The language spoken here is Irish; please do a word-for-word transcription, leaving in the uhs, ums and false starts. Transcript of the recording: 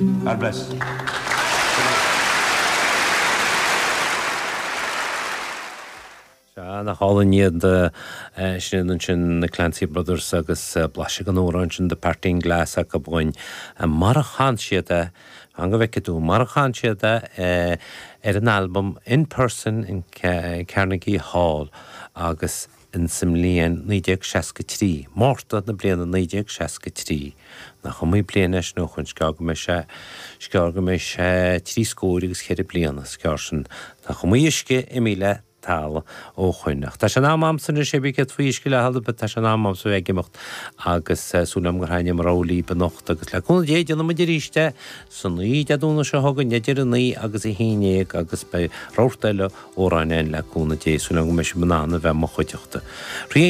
God bless. Sea, nach álainn iad sin ansin na Clancy Brothers agus blaiseadh den amhrán sin The Parting Glass acu dhúinn. Mar a chan siad é, fan go bhfeice tú, mar a chan siad é ar an albam In Person in Carnegie Hall agus in sa mbliain naoi déag seasca trí, Márta na bliana naoi déag seasca trí. Nach iomaí bliain é sin ó shoin, is gearr go mbeidh sé, is gearr go mbeidh sé trí scór agus ceithre bliana, is gearr sin. Nach iomaí uisce imithe le talamh ó shoin. Ach tá sé in am a'msa anois, cibé céard faoi uisce le thalamh, tá sé in am a'msa bheith ag imeacht agus súil a'm gur thaitnigh mo rogha libh anocht agus le cúnamh Dé déanfaidh muid arís é san oíche Dé Domhnaigh seo chugainn idir a naoi agus a haon déag agus beidh rabharta eile amhráin againn le cúnamh Dé. Súil a'm go mbeidh sibh in ann a bheith mo chuideachta.